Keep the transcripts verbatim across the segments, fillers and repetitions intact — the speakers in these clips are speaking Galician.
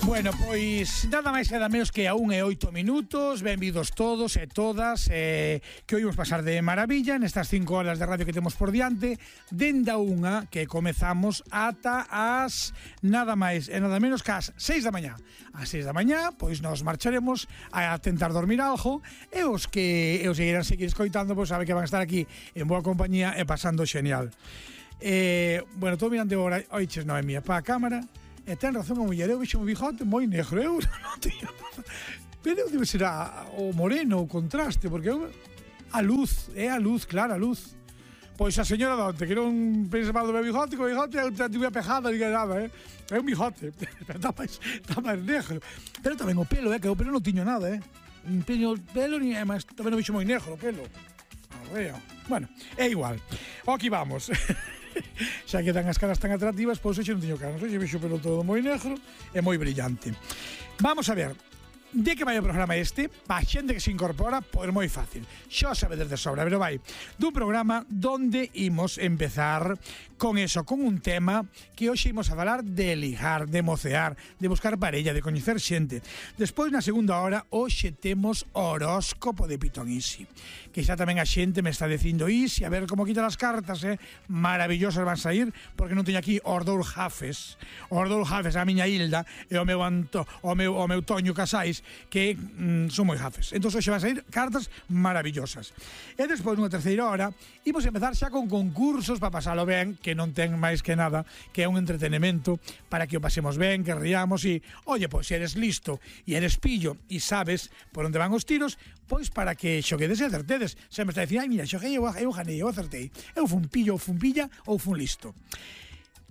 Bueno, pois nada máis e nada menos que a un e oito minutos. Benvidos todos e todas, eh, que hoy vamos pasar de maravilla nestas cinco horas de radio que temos por diante, dende a unha que comezamos ata as nada máis e nada menos que as seis da mañá. As seis da mañá, pois nos marcharemos a tentar dormir algo, e os que e os que irán seguir escoitando, pois sabe que van a estar aquí en boa compañía e pasando xenial. Eh, bueno, estou mirando agora, oiches, Noemia, pa a cámara. E ten razón a muller, eu vexo un bigote moi negro, eu non teño... Pero debe ser a, o moreno, o contraste, porque eu, a luz, é a luz, claro, a luz. Pois a señora Donte, que non pensa mal do meu bigote, que o bigote eu tive a pejada, diga nada, eh? É un bigote, está máis, está máis negro. Pero tamén o pelo, eh, que o pelo non tiño nada, eh? Un pelo, pelo, ni, además, tamén o vexo moi negro, o pelo. Arreo. Bueno, é igual. O aquí vamos. Xa que dan as caras tan atractivas, pois hoxe non teño caras, hoxe vexo pelo todo moi negro e moi brillante. Vamos a ver, de que vai o programa este? Pa xente que se incorpora, pois moi fácil, xa sabedes de sobra, pero vai dun programa donde imos empezar con eso, con un tema que hoxe imos a falar de ligar, de mocear, de buscar parella, de coñecer xente. Despois, na segunda hora, hoxe temos horóscopo de Pitón Isi, que xa tamén a xente me está dicindo Isi, a ver como quita as cartas, eh? Maravillosas van sair, porque non teño aquí os dous jafes, os dous jafes, a miña Hilda e o meu, Anto, o meu, o meu Toño Casais, que mm, son moi jafes. Entón, hoxe van sair cartas maravillosas. E despois, nunha terceira hora, imos empezar xa con concursos para pasalo ben, que non ten máis que nada, que é un entretenimento para que o pasemos ben, que riamos e, oye, pois, se eres listo e eres pillo e sabes por onde van os tiros, pois para que xoguedes e acertedes. Se me está dicindo, ai, mira, xoguei, eu, eu ganei, eu acertei. Eu fun pillo, ou fun pilla, ou fun listo.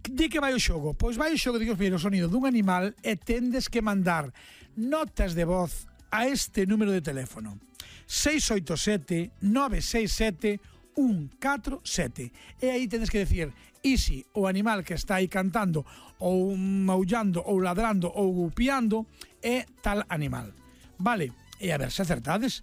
De que vai o xogo? Pois vai o xogo de que os o sonido dun animal e tendes que mandar notas de voz a este número de teléfono seis oito sete, nove seis sete, un catro sete, e aí tendes que decir Isi, o animal que está aí cantando ou maullando ou ladrando ou gupiando é tal animal, vale? E a ver se acertades.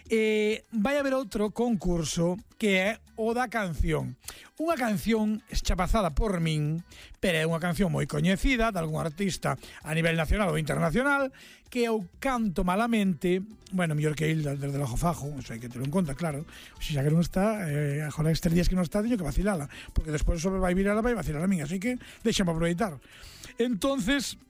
E vai haber outro concurso que é o da canción. Unha canción chapazada por min, pero é unha canción moi coñecida de algún artista a nivel nacional ou internacional, que eu canto malamente, bueno, mellor que il desde o fajo, eso hai que ter en conta, claro. Se xa que non está, eh, agora estes días que non está, teño que vacilala, porque despois sobre vai virar, vai vacilar a min, así que deixame aproveitar. Entonces,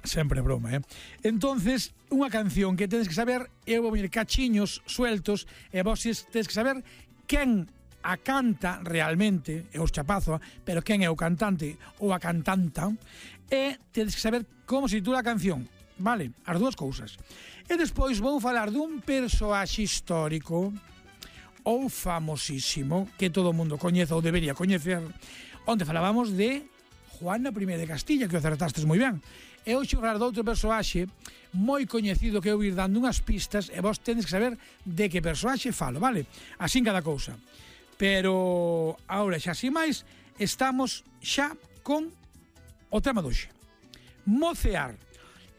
sempre broma, eh? Entonces, unha canción que tedes que saber, eu vou vir cachiños sueltos, e vos tedes que saber quen a canta realmente, é os chapazo, pero quen é o cantante ou a cantanta, e tedes que saber como se titula a canción, vale? As dúas cousas. E despois vou falar dun persoaxe histórico ou famosísimo, que todo o mundo coñece ou debería coñecer, onde falábamos de Juana I de Castilla, que o acertastes moi ben. E hoxe falar de outro persoaxe moi coñecido que eu ir dando unhas pistas e vos tedes que saber de que persoaxe falo, vale? Así cada cousa. Pero, agora xa así máis, estamos xa con o tema doxe. Mocear.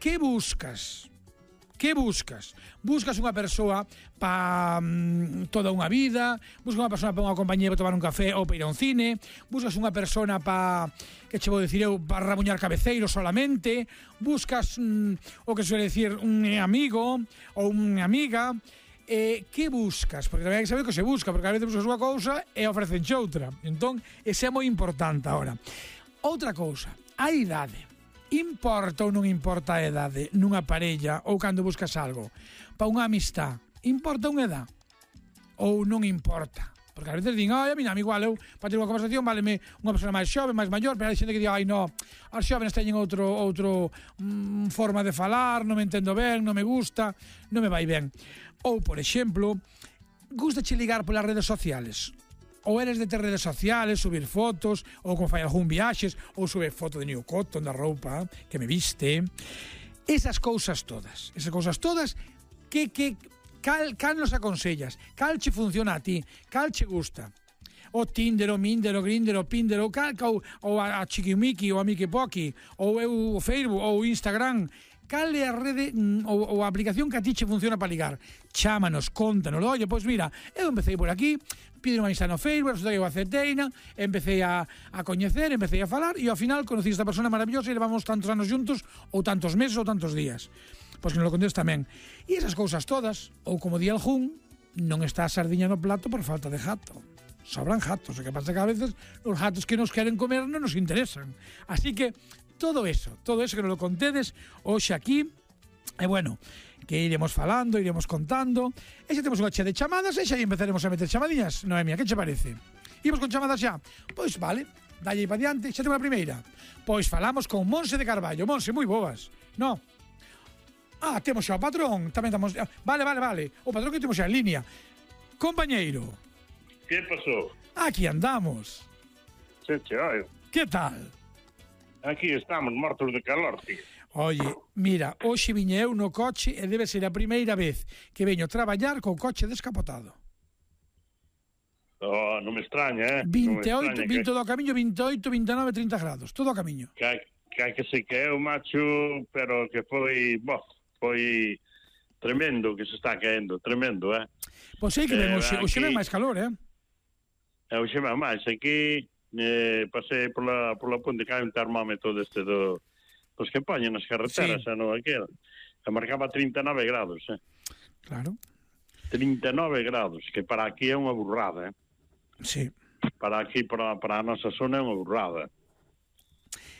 Que buscas? Que buscas? Buscas unha persoa para mm, toda unha vida, buscas unha persoa para unha compañía para tomar un café ou para ir a un cine, buscas unha persona para, que che vou dicir eu, para rabuñar cabeceiros solamente, buscas mm, o que suele decir un amigo ou unha amiga. Eh, que buscas? Porque tamén hai que saber que se busca, porque a veces buscas unha cousa e ofrecen outra. Entón, ese é moi importante agora. Outra cousa, a idade. Importa ou non importa a edade nunha parella ou cando buscas algo? Para unha amistad, importa unha edad? Ou non importa? Porque a veces din, ai, a mí, a mí igual, eu para ter unha conversación váleme unha persona máis xove, máis maior, pero hai xente que di, ai, no, as xóvenes teñen outro outro mm, forma de falar, non me entendo ben, non me gusta, non me vai ben. Ou, por exemplo, gustache ligar polas redes sociales? Ou eres de ter redes sociales, subir fotos, ou como fai algún viaxes, ou subir foto de New Cotton, da roupa que me viste. Esas cousas todas, esas cousas todas que, que cal, cal nos aconsellas, cal che funciona a ti, cal che gusta. O Tinder, o Minder, o Grindr, o Pinder, o cal, ou, ou a, a Chiquimiqui, ou a Mickey Pocky, ou eu o Facebook, ou o Instagram. cal é a rede mm, ou, ou a aplicación que a ti che funciona para ligar. Chámanos, contanos, oye, pois mira, eu empecé por aquí, pide unha amistad no Facebook, resulta que eu acepteina, empecé a, a coñecer, empecé a falar e ao final conocí esta persona maravillosa e levamos tantos anos juntos ou tantos meses ou tantos días. Pois que nos lo contes tamén. E esas cousas todas, ou como di algún, non está a sardiña no plato por falta de jato. Sobran jatos, o que pasa que a veces os jatos que nos queren comer non nos interesan. Así que todo eso, todo eso que nos lo contedes hoxe aquí, e bueno, que iremos falando, iremos contando, e xa temos unha che de chamadas, e xa empezaremos a meter chamadillas. Noemia, que che parece? Imos con chamadas xa? Pois vale, dalle para diante, xa temos a primeira. Pois falamos con Monse de Carballo. Monse, moi boas. No. Ah, temos xa o patrón, tamén estamos... Vale, vale, vale, o patrón que temos xa en línea. Compañeiro. Que pasou? Aquí andamos. Se che oio. Que tal? Aquí estamos, mortos de calor, tío. Oye, mira, hoxe viñe eu no coche e debe ser a primeira vez que veño traballar co coche descapotado. Oh, non me extraña, eh? vinte e oito, extraña vinte que, do camiño, vinte e oito, vinte e nove, trinta grados, todo o camiño. que, hai- que hai que se que eu, macho, pero que foi, bo, foi tremendo que se está caendo, tremendo, eh? Pois sei que ven, Eh, hoxe, hoxe aquí- ven máis calor, eh? E hoxe va máis, aquí eh, pasei pola, pola ponte que hai un termómetro deste do, dos que poñen nas carreteras, Sí. sí. non aquel, que marcaba trinta e nove grados, eh? Claro, trinta e nove grados, que para aquí é unha burrada, eh? sí. Para aquí, para, para a nosa zona é unha burrada.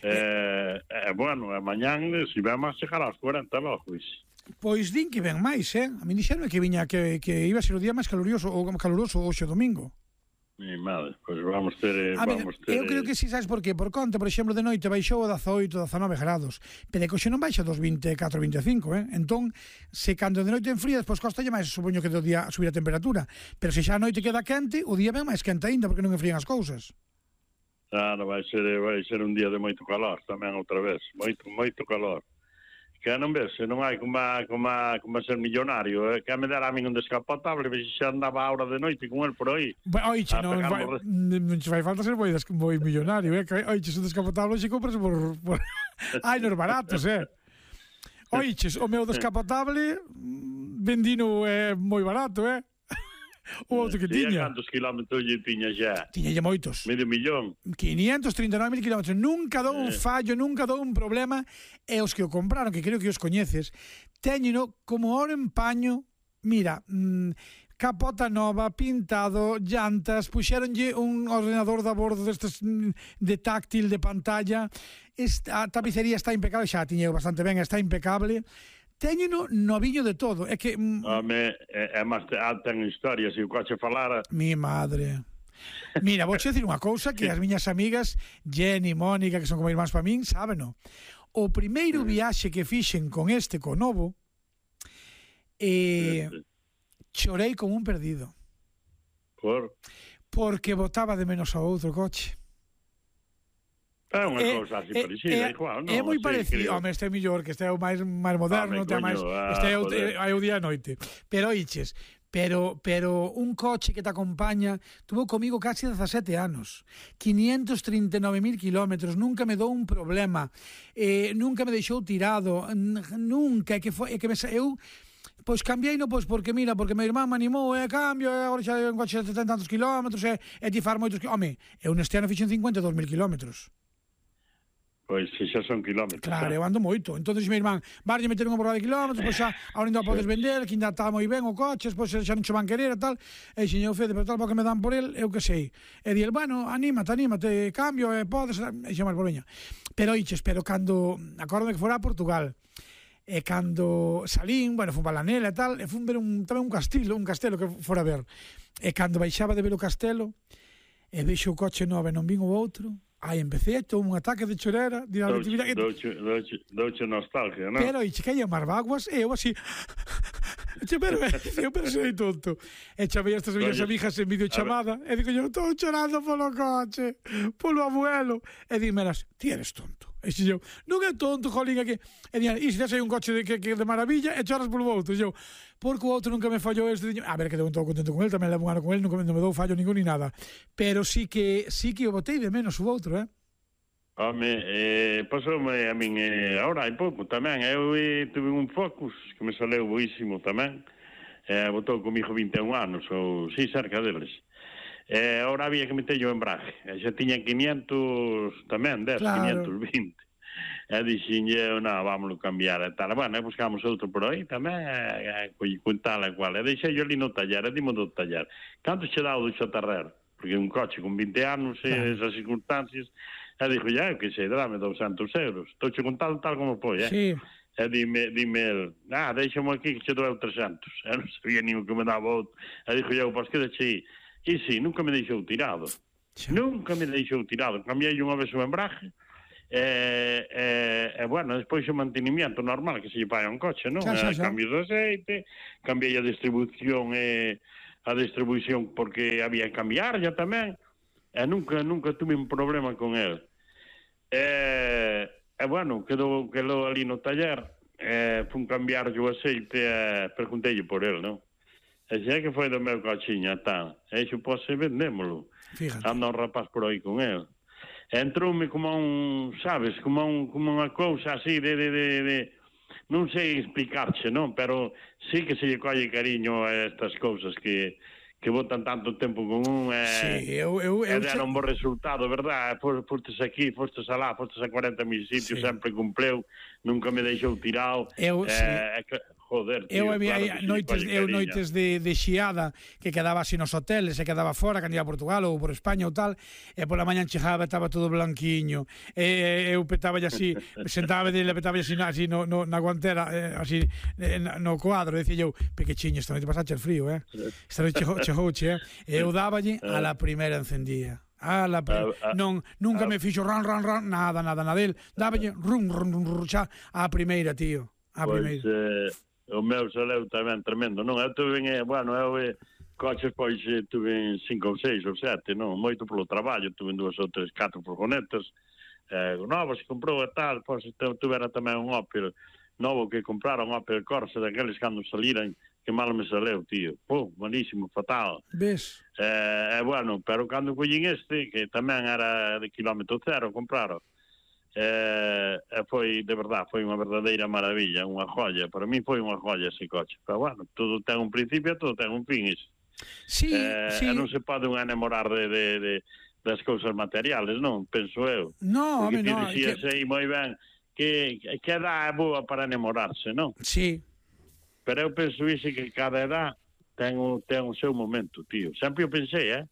Eh, eh, bueno, e mañán, se ven máis chegar aos cuarenta logo, pois. Pois din que ven máis, eh? A mí dixeron que viña que, que iba a ser o día máis calurioso ou caluroso hoxe domingo. Mi madre, pois vamos ter, A ver, vamos ter... eu creo que si, sabes por qué? Por conta, por exemplo, de noite baixou a dezaoito, dezanove grados, pero é que hoxe non baixa dos vinte e catro, vinte e cinco, eh? Entón, se cando de noite enfría, despois costalle máis, supoño que do día subir a temperatura, pero se xa a noite queda quente, o día ven máis quente aínda, porque non enfrían as cousas. Claro, vai ser, vai ser un día de moito calor tamén outra vez, moito, moito calor. Que non ves, se non hai como, como, como ser millonario, eh? Que me dera a min un descapotable, se xa andaba a hora de noite con el por aí. Oiche, A non, pegar vai, morre- non che fai falta ser moi, des, moi millonario, eh? Que, oiche, un descapotable xe compras por... por... Ai, nos baratos, eh? Oiche, o meu descapotable mm, vendino é eh, moi barato, eh? O outro que E a tiña. cantos kilómetros lle tiña xa? Tiñalle moitos. Medio millón. quinientos treinta e nove mil kilómetros. Nunca dou un Eh. fallo, nunca dou un problema. E os que o compraron, que creo que os coñeces, teñeno como oro en paño. Mira, mmm, capota nova, pintado, llantas, puxéronlle un ordenador da bordo destes mm, de táctil, de pantalla. Esta, a tapicería está impecable, xa a tiñeu bastante ben, está impecable. Teñeno noviño de todo. É que... Mm, Home, é, é máis, ah, ten historia, se o coche falara... mi madre. Mira, vou che dicir unha cousa que as miñas amigas Jenny, Mónica, que son como irmáns para min, sábeno. O primeiro viaxe que fixen con este, co novo, eh, chorei como un perdido. Por... Porque botaba de menos ao outro coche. É unha É- cousa así é- parecida, é- igual, non? É moi Sí, parecido. creo. Home, este é mellor, que este é o máis máis moderno, Home, ten máis, coño, ah, este é o, joder. é o día e noite. Pero oiches, pero pero un coche que te acompaña, tuvo comigo casi dezasete anos, quinientos trinta e nove mil kilómetros, nunca me dou un problema, eh, nunca me deixou tirado, n- nunca, é que foi, é que me sa- eu pois cambiei no, pois porque mira, porque meu irmán me animou, e cambio, e agora xa un coche de setenta tantos kilómetros, e, e ti far moitos kilómetros. Home, eu neste ano fixen cincuenta e dous mil kilómetros. Pois se xa son kilómetros. Claro, eh. eu ando moito. Entonces meu irmán, varlle meter unha borrada de kilómetros, pois xa, ahora ainda o podes vender, que ainda está moi ben o coche, pois xa non che van querer e tal. E xeñeu Fede, pero tal porque me dan por el, eu que sei. E di el, bueno, anímate, anímate, cambio, e podes, e xa máis por veña. Pero oiches, pero cando, acórdame que fora a Portugal, e cando salín, bueno, fun para la Nela e tal, e fun ver un, tamén un castelo, un castelo que fora a ver. E cando baixaba de ver o castelo, e vexo o coche novo e non vin o outro, aí empecé, todo un ataque de chorera, de Douche, douche, douche, douche nostalgia, non? pero iche que hai as vaguas e eu así che, pero, eu pero sei tonto e chamei a estas minhas Oye, amigas en videochamada e digo eu estou chorando polo coche polo abuelo e dimeras, ti eres tonto e xe eu, non é tonto, jolín, é que e digan, e se tes aí un coche de, que, que de maravilla e choras polo outro e eu, porque o outro nunca me fallou este diño. A ver, que deu todo contento con el, tamén levo un ano con el, non me, non me dou fallo ningún ni nada, pero sí que sí que o botei de menos o outro, eh. Home, eh, pasoume a min eh, ahora hai pouco tamén. Eu eh, tuve un Focus que me saleu boísimo tamén. Eh, botou comigo vinte e un anos, ou si, cerca deles. Eh, ahora había que meter o embrague. E xa tiña quinientos tamén, dez, claro. quinientos vinte. E dixen eu, non, vámonos cambiar e tal. Bueno, e buscamos outro por aí tamén, e, e, con tal e cual. E deixei eu ali no taller, e dimo do taller. Canto che dá o do Xotarrer? Porque un coche con vinte anos, e claro. esas circunstancias... E dixo, ya, eu que sei, dame douscentos euros. Estou che contado tal como foi, eh? Sí. E dime, dime el, ah, deixamo aquí que che dou trescentos. E non sabía nin o que me daba outro. E dixo eu, pois que deixei. E si, nunca me deixou tirado. Sí. Nunca me deixou tirado. Cambiei unha vez o embrague, e, e, e bueno, despois o mantenimiento normal que se lle paga un coche, non? Xa, xa, xa. Cambios de aceite, cambiei a distribución e a distribución porque había que cambiar ya tamén. E nunca, nunca tuve un problema con el. E, e bueno, quedou, quedou ali no taller, e fun cambiar o aceite e preguntei por el, non? E xe que foi do meu cochiña, tal. E xo pose vendémolo. Fíjate. Anda un rapaz por aí con el. E entroume como un, sabes, como un, como unha cousa así de, de, de, de... non sei explicarche, non? Pero sí que se lle colle cariño a estas cousas que... que botan tanto tempo con un e, sí, eu, eu, eu, e deron un bo resultado, verdad? Fostes aquí, fostes alá, fostes a cuarenta mil sitios, sí. Sempre cumpleu, nunca me deixou tirado. Eu, eh, sí. Joder, tío, eu había claro noites, eu noites de, de xiada que quedaba así nos hoteles, se quedaba fora, cando ia a Portugal ou por España ou tal, e pola mañan chegaba, estaba todo blanquiño, e eu petaba así, sentaba dele, petaba así, así no, no, na guantera, eh, así no cuadro, decía eu, pequechiño, esta noite pasache el frío, eh? Esta noite chegouche, eh? E eu dáballe, a la primeira encendía. A la pre... uh, uh, non, nunca uh, me fixo ran, ran, ran, nada, nada, nada del, dáballe, rum, rum, rum, rum, xa, a primeira, tío, a primeira. Pois, eh... O meu saleu tamén tremendo, non? Eu tuve, bueno, eu eh, coches, pois, eh, tuve cinco ou seis ou sete, non? Moito polo traballo, tuve dúas ou tres, catro furgonetas, eh, novos que comprou e tal, pois, tuvera tamén un Opel novo que compraron, un Opel Corsa, daqueles cando saliran, que mal me saleu, tío. Pô, malísimo, fatal. Ves? Eh, eh, bueno, pero cando collín este, que tamén era de kilómetro cero, compraron, Eh, foi, de verdad, foi unha verdadeira maravilla, unha joya. Para mí foi unha joya ese coche. Pero bueno, todo ten un principio, todo ten un fin. Sí, eh, sí. Non se pode un enamorar de, de, de, das cousas materiales, non? Penso eu. No, home, no. Porque ti que... moi ben que, que edad é boa para enamorarse, non? Sí. Pero eu penso iso que cada edad ten o, ten o seu momento, tío. Sempre o pensei, eh?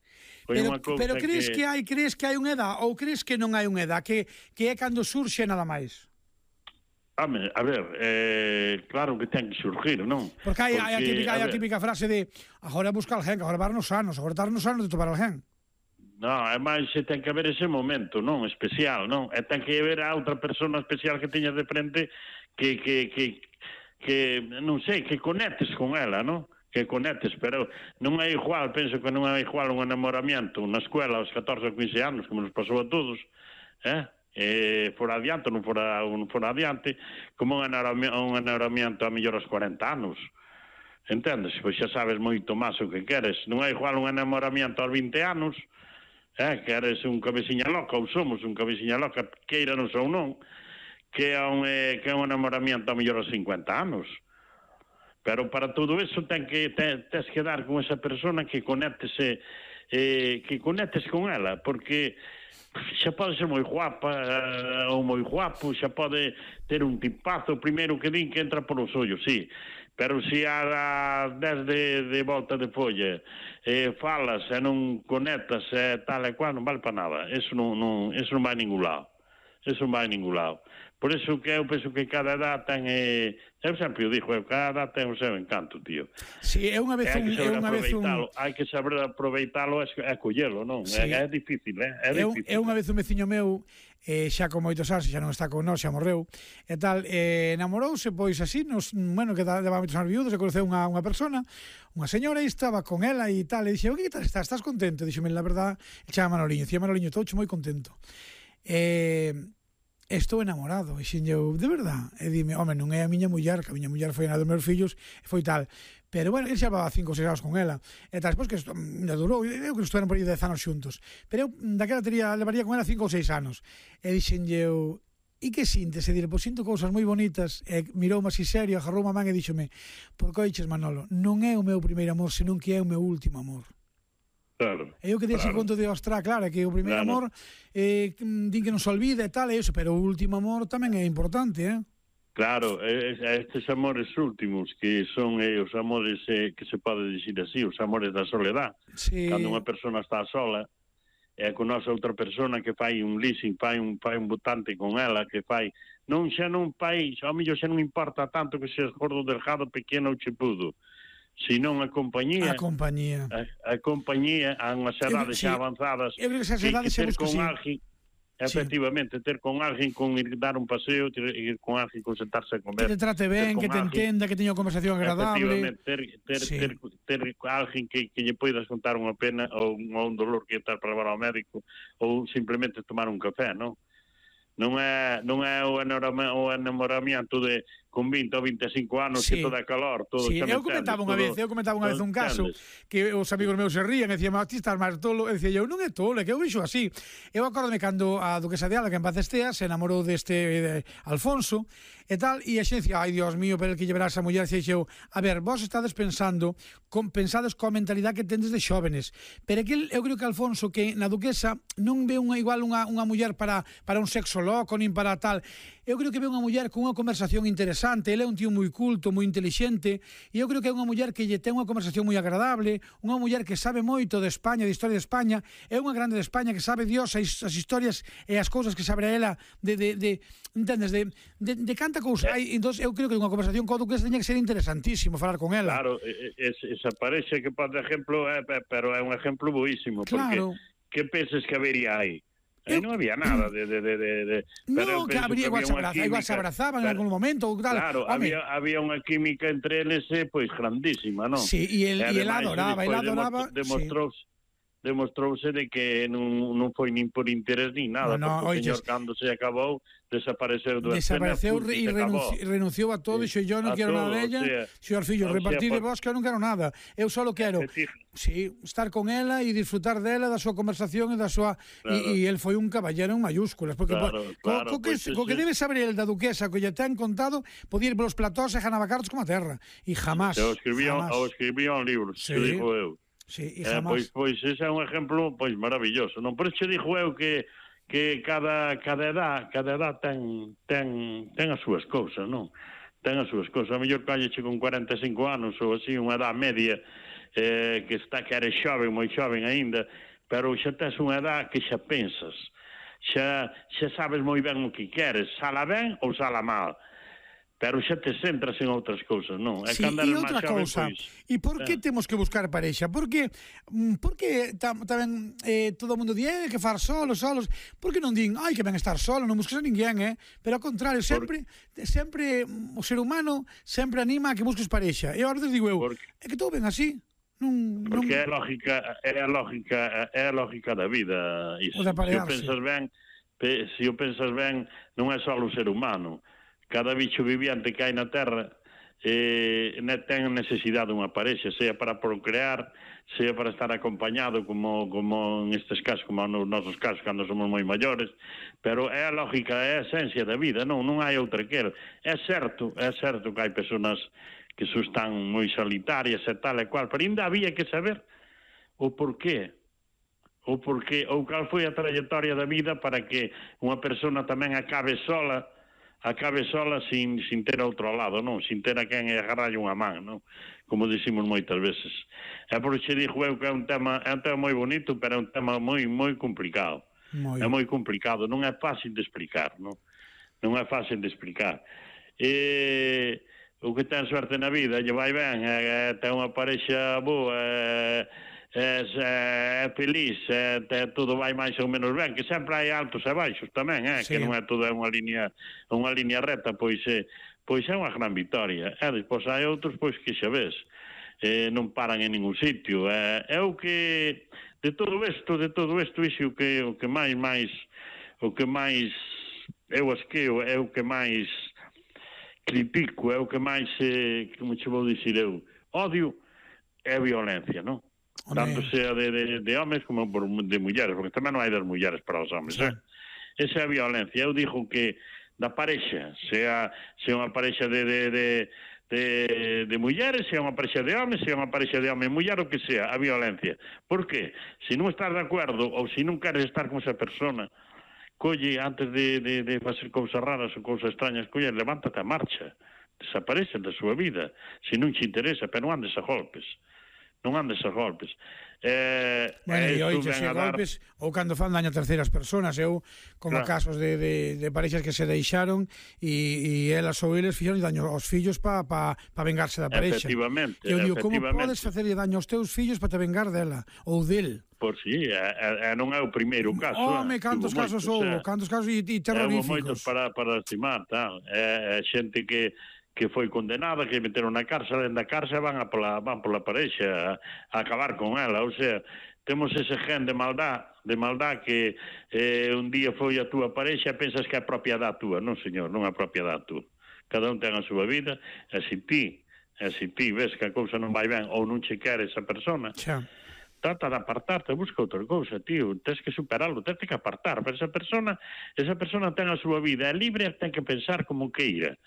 Pero, pero crees que... que hai crees que hai unha edad ou crees que non hai unha edad que, que é cando surxe nada máis? Home, a ver, eh, claro que ten que surgir, non? Porque hai, Porque, hai, a, típica, a, hai a típica frase de agora busca alguén, agora varnos anos, agora tarnos anos de topar alguén. Non, é máis se ten que haber ese momento, non? Especial, non? E ten que haber a outra persona especial que teñas de frente que, que, que, que non sei, que conectes con ela, non? Que conectes, pero non é igual, penso que non é igual un enamoramiento na escuela aos catorce ou quince anos, como nos pasou a todos, eh? E fora adiante, non fora, non fora adiante, como un enamoramiento a mellor aos cuarenta anos. Entendes? Pois xa sabes moito máis o que queres. Non é igual un enamoramiento aos vinte anos, eh? Que eres un cabeciña loca, ou somos un cabeciña loca, queiranos ou non, que é un, eh, que é un enamoramiento a mellor aos cincuenta anos. Pero para todo eso ten que te, tens que dar con esa persona que conectes eh, que conectes con ela, porque xa pode ser moi guapa eh, ou moi guapo, xa pode ter un tipazo, primeiro que din que entra por os ollos, sí, pero se a dez de, de volta de folla eh, falas e non conectas e eh, tal e cual, non vale para nada, eso non, non, eso non vai a ningún lado, eso non vai a ningún lado. Por iso que eu penso que cada edad ten... Eh, eu sempre o dixo, cada edad ten o seu encanto, tío. Si, é unha vez un... É unha vez un... Hai que saber aproveitalo e collelo, non? Sí. É, é difícil, eh? É, difícil. É unha vez un veciño meu, eh, xa con moitos anos, xa non está con nós, xa morreu, e tal, eh, enamorouse, pois así, nos, bueno, que daba moitos anos viudos, e conoceu unha, unha persona, unha señora, e estaba con ela e tal, e dixe, o que tal estás? Estás contento? Dixome, la verdad, chama Manoliño, dicía Manoliño, estou moi contento. Eh... estou enamorado, e xin eu, de verdad, e dime, home, non é a miña muller, que a miña muller foi a dos meus fillos, e foi tal, pero bueno, ele xa va cinco ou seis anos con ela, e tal, despois que me durou, eu que estuveron por aí dez anos xuntos, pero eu daquela tería, levaría con ela cinco ou seis anos, e dixen eu, e que sintes? E dile, pois sinto cousas moi bonitas, e miroume así serio, agarrou a man e díxome, por que oiches, Manolo, non é o meu primeiro amor, senón que é o meu último amor. Claro. E eu que dese claro. conto de Ostra, claro, que o primeiro claro. amor eh, din que non se olvida e tal, e eso, pero o último amor tamén é importante, eh? Claro, estes amores últimos que son eh, os amores eh, que se pode dicir así, os amores da soledad. Sí. Cando unha persona está sola e conoce outra persona que fai un leasing, fai un, fai un botante con ela, que fai... Non xa non fai, xa, a mellor xa non importa tanto que seas gordo, delgado, pequeno ou chepudo, senón a compañía. A compañía. A, a compañía, a unhas edades xa avanzadas, eu creo que esas edades que ter con sí. alguén, efectivamente, sí. ter con alguén, con ir dar un paseo, ter, ir con alguén, con sentarse a comer. Que te trate ben, que te alguén, entenda, que teña unha conversación agradable. Efectivamente, ter, ter, sí. ter, ter, ter alguén que, que lle poidas contar unha pena ou un, ou un dolor que estar para levar ao médico, ou simplemente tomar un café, non? Non é, non é o enamoramento de con vinte ou vinte e cinco anos sí. que todo é calor, todo sí. Eu comentaba unha vez, eu comentaba unha vez un caso que os amigos meus se rían e dicían, ti estás máis tolo, e dicía eu, non é tolo, é que eu vixo así. Eu acórdome cando a duquesa de Alba, que en paz estea, se enamorou deste de Alfonso e tal, e a xente dicía, ai, Dios mío, pero el que llevará esa muller, dicía eu, a ver, vos estades pensando, con, pensades coa mentalidade que tendes de xóvenes, pero que eu creo que Alfonso, que na duquesa non ve unha igual unha, unha muller para, para un sexo loco, nin para tal, eu creo que ve unha muller con unha conversación interesante, ele é un tío moi culto, moi inteligente, e eu creo que é unha muller que lle ten unha conversación moi agradable, unha muller que sabe moito de España, de historia de España, é unha grande de España que sabe Dios as, as historias e as cousas que sabe ela de, de, de entendes, de, de, de canta cousa hai, entón eu creo que unha conversación co duquesa teña que ser interesantísimo falar con ela. Claro, esa parece que, por exemplo, é, pero é un exemplo boísimo, claro. Porque que penses que habería aí? Aí non había nada de... de, de, de, de no, que habría, igual, que había se igual se abrazaban pero, en algún momento tal. Claro, había, había unha química entre eles pois grandísima, non? Sí, e el, e el adoraba, el adoraba demostrouse, sí. demostrouse de que non, non foi nin por interés nin nada, no, no, porque o señor cando se acabou desapareceu do desapareceu e renunci, renunciou a todo e dixo, yo non quero nada de ella, señor fillo, repartir de vos que eu non quero nada, eu só quero sí, estar con ela e disfrutar dela, da súa conversación e da súa claro. e, e el foi un caballero en mayúsculas porque claro, co, claro, co, que, pues, co que debe saber el da duquesa que lle ten contado, podía ir polos platós e ganaba cartos como a terra e jamás o escribía, o escribía un libro, sí. que digo eu sí, e eh, jamás pois, pois ese é un exemplo pois maravilloso, non? Por iso dixo eu que que cada cada edad, cada edad ten ten ten as súas cousas, non? Ten as súas cousas. A mellor calleche con cuarenta e cinco anos ou así, unha edad media eh, que está que eres xoven, moi xoven aínda, pero xa tes unha edad que xa pensas. Xa xa sabes moi ben o que queres, sala ben ou sala mal. Pero xa te centras en outras cousas, non? Sí, e outra cousa, e por que eh. temos que buscar parexa? Porque, porque tam, tamén eh, todo o mundo di eh, que far solos, solos, por que non din, ai, que ben estar solo, non busques a ninguén, eh? Pero ao contrario, sempre, por... sempre o ser humano sempre anima a que busques parexa. E agora te digo eu, por... é que todo ben así. Non, porque non... é a lógica, é a lógica, é a lógica da vida. Iso. Se o pensas ben, se o pensas ben, non é só o ser humano. Cada bicho viviente que hai na Terra eh, ten necesidade dunha parexa, sea para procrear, sea para estar acompañado, como, como en estes casos, como nos nosos casos, cando somos moi maiores, pero é a lógica, é a esencia da vida, non non hai outra que er. É certo, é certo que hai personas que so están moi solitarias e tal e cual, pero ainda había que saber o porqué, o porqué, ou cal foi a trayectoria da vida para que unha persona tamén acabe sola, acabe sola sin, sin ter outro lado, non? Sin ter a quen agarralle unha man, non? Como dicimos moitas veces. É por iso dixo eu que é un tema, é un tema moi bonito, pero é un tema moi moi complicado. Moi. É moi complicado, non é fácil de explicar, non? Non é fácil de explicar. E o que ten suerte na vida, lle vai ben, é, é, ten unha parexa boa, é, É, é feliz, é, é, todo vai máis ou menos ben, que sempre hai altos e baixos tamén, é, sí. Que non é todo unha liña unha liña recta, pois é, pois é unha gran vitoria. E despois hai outros pois que xa ves, eh, non paran en ningún sitio. É, é o que de todo isto, de todo isto, iso o que o que máis máis o que máis eu as que eu, é o que máis critico, é o que máis, eh, como che vou dicir eu, odio é a violencia, non? Tanto sea de, de, de homes como por, de mulleres, porque tamén non hai das mulleres para os homes, sí. eh? Esa é a violencia. Eu digo que da parexa, sea, sea unha parexa de, de, de, de, de mulleres, sea unha parexa de homes, sea unha parexa de home e muller, o que sea, a violencia. Por que? Se non estás de acordo ou se non queres estar con esa persona, colle, antes de, de, de facer cousas raras ou cousas extrañas, colle, levántate a marcha, desaparece da súa vida, se non te interesa, pero non andes a golpes, non andes a golpes. Eh, bueno, e oiche se dar... golpes ou cando fan daño a terceiras persoas, eu como claro. casos de, de, de parexas que se deixaron e, e elas ou eles fixeron daño aos fillos para pa, pa vengarse da parexa. Efectivamente. Eu digo, como efectivamente. podes facerlle daño aos teus fillos para te vengar dela ou del? Por si, sí, é, é, non é o primeiro caso. Home, cantos casos houve, cantos casos e, e terroríficos. Houve moitos para, para estimar, tal. É, é xente que que foi condenada, que meteron na cárcel, en da cárcel van a pola, van pola parexa a, a acabar con ela, ou sea, temos ese gen de maldad, de maldad que eh, un día foi a túa parexa e pensas que é propiedade túa. Non, señor, non é propiedade túa. Cada un ten a súa vida, e se ti, e se ti ves que a cousa non vai ben ou non che quere esa persona, xa. Trata de apartarte, busca outra cousa, tío, tens que superarlo, tens que apartar, pero esa persona, esa persona ten a súa vida, é libre e ten que pensar como queira.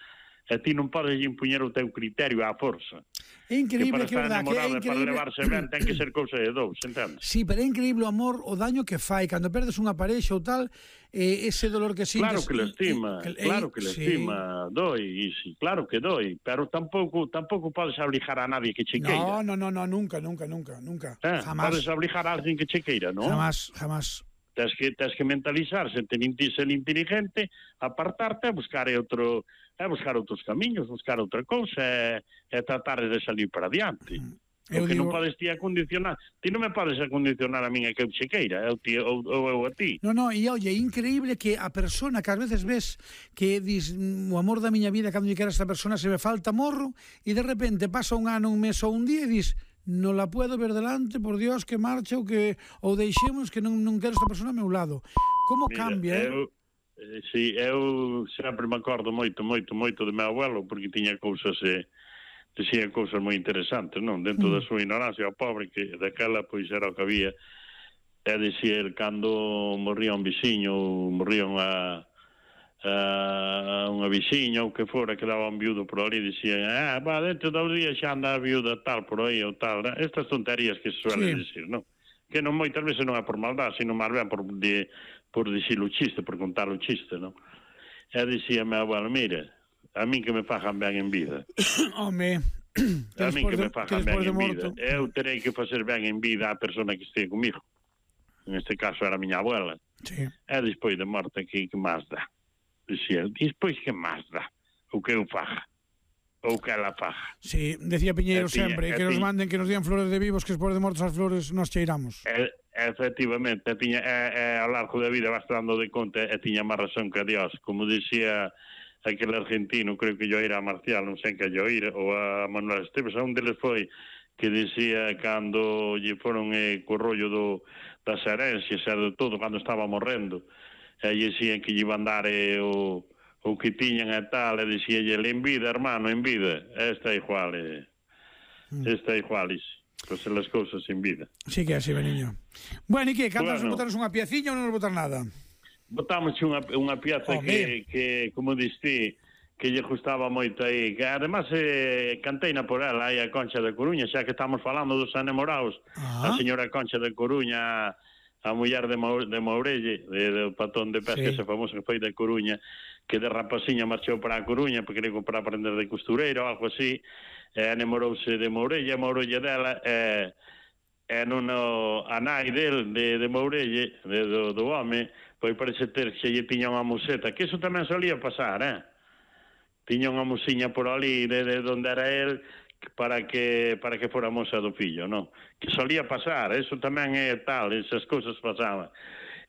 E ti non podes impuñer o teu criterio á forza. É increíble, que, que verdad, que é increíble. Para levarse ben ten que ser cousa de dous, entendes? Sí, pero é increíble o amor, o daño que fai cando perdes unha parexa ou tal, eh, ese dolor que sintes. Claro que le estima, eh, claro que le sí. estima, doi, sí, claro que doi, pero tampouco tampouco podes obligar a nadie que che queira. No, no, no, no, nunca, nunca, nunca, nunca. Eh, jamás. Podes obligar a alguén que che queira, non? Jamás, jamás. Tens que, tens que mentalizarse, ser inteligente, apartarte e buscar outro, é buscar outros camiños, buscar outra cousa e, e tratar de salir para adiante. Mm. Porque digo... non podes ti acondicionar, ti non me podes acondicionar a min a que eu che queira, eu ti, ou, ou eu a ti. No, no, e oye, é increíble que a persona que ás veces ves que dis, o amor da miña vida, cando lle quero a esta persona se me falta morro, e de repente pasa un ano, un mes ou un día e dis, non la puedo ver delante, por Dios, que marcha ou que ou deixemos que non, non quero esta persona ao meu lado. Como Mira, cambia, eh? Eu, eh, si, eu sempre me acordo moito, moito, moito de meu abuelo, porque tiña cousas, eh, dicía cousas moi interesantes, non? Dentro mm. da súa ignorancia, o pobre, que daquela, pois, era o que había, e dicía, cando morría un viciño, ou morría unha Uh, unha viciña ou que fora que daba un viudo por ali, dicían, ah, va, dentro dos días xa anda a viuda tal por aí ou tal, né? Estas tonterías que se suele sí. decir, non? Que non moitas veces non é por maldad, sino máis ben por, de, por dicir o chiste, por contar o chiste, non? E dicía meu abuelo, mira, a min que me fajan ben en vida. Home, a min que me fajan ben en vida. Eu terei que facer ben en vida a persona que este comigo. En este caso era a miña abuela. Sí. E despois de morte, que, que máis dá? Dicía, e despois que máis dá? O que eu faja? Ou que ela faja? Sí, decía Piñeiro tiña, sempre, que nos manden, que nos digan flores de vivos, que despois de mortos as flores nos cheiramos. E, efectivamente, tiña, e, e, ao largo da vida vas dando de conta e tiña máis razón que a Dios. Como dicía aquel argentino, creo que yo era a Marcial, non sei que yo ir, ou a Manuel Esteves, a un deles foi que dicía cando lle foron eh, co rollo do, das herencias e do todo, cando estaba morrendo, e dicían que lle iban dar eh, o, o que tiñan e tal, e dicíalle, en vida, hermano, en vida, esta é igual, eh, esta é igual, pues las cousas en vida. Sí que é así, Beniño. Bueno, e que, cantas bueno, botaros unha pieciña ou non nos botar nada? Botamos unha, unha pieza oh, que, que, como diste, que lle gustaba moito aí, que además eh, canteina por ela aí a Concha de Coruña, xa que estamos falando dos enamorados, ah. a señora Concha de Coruña, a muller de, Mau, de Mourelle, de, de patón de pesca, sí. ese famoso que foi de Coruña, que de rapaciña marchou para a Coruña, porque quería para aprender de costureiro ou algo así, e enamorouse de Mourelle, a Mourelle dela, e, e non a nai del, de, de Mourelle, de, do, do home, pois parece ter que lle tiña unha museta, que iso tamén solía pasar, eh? Tiña unha musiña por ali, de, de onde era el, para que para que fora moza do fillo, non? Que solía pasar, eso tamén é tal, esas cousas pasaban.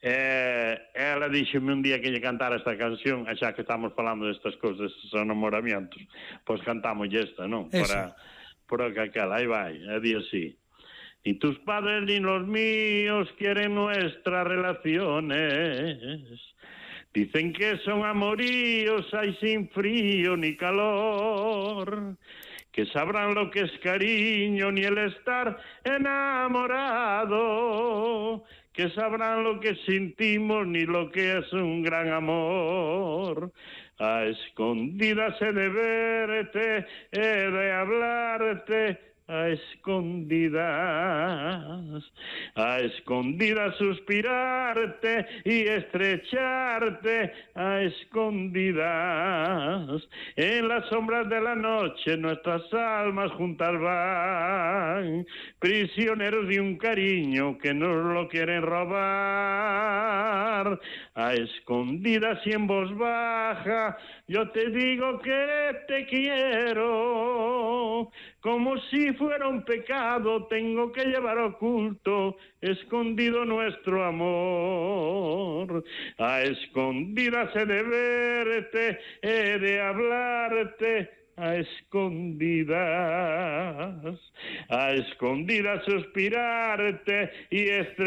Eh, ela díxeme un día que lle cantara esta canción, xa que estamos falando destas cousas, estes enamoramientos, pois cantamos esta, non? Eso. Para, para que aquela, aí vai, a día así. Ni tus padres ni los míos quieren nuestras relaciones, Dicen que son amoríos, hay sin frío ni calor, que sabrán lo que es cariño ni el estar enamorado, que sabrán lo que sentimos ni lo que es un gran amor. A escondidas he de verte, he de hablarte, a escondidas, a escondidas suspirarte y estrecharte, a escondidas. En las sombras de la noche nuestras almas juntas van, prisioneros de un cariño que nos lo quieren robar. A escondidas y en voz baja yo te digo que te quiero, como si fuera un pecado tengo que llevar oculto, escondido nuestro amor. A escondidas he de verte, he de hablarte, a escondidas, a escondidas suspirarte y estrecharte.